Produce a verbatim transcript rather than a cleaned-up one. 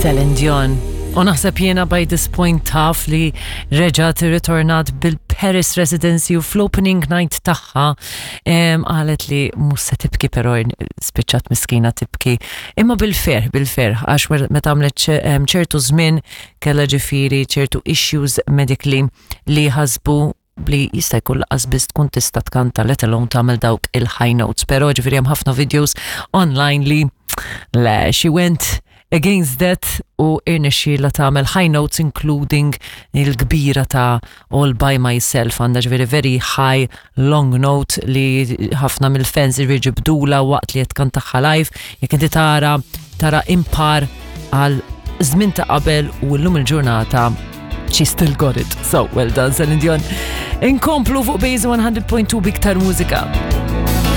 Celine Dion. U naħseb jiena by this point taf li reġat ritornat bil-Paris Residency u fl-opening night tagħha qalet li mhux se tibki, però spiċċat miskina tibki. Imma bil-ferħ, bil-ferħ, għax meta għamlet ċertu żmien kellha ġifieri ċertu issues medically li ħasbu li jista' jkun lanqas biss tkun tista' tkanta, let alone tagħmel dawk il-high notes. Però ġifieri hemm ħafna videos online li le, she went against that u irnexxielha tagħmel high notes, including il-kbira ta' All By Myself. Għandha ġifieri very high long note li ħafna mill-fans irriġibdula waqt li qed tkantaha live. Jekk inti tara tara impar għal żmien ta' qabel u llum il-ġurnata, she still got it. So, well done, Celine Dion. Inkomplu fuq Base one hundred point two b'iktar mużika.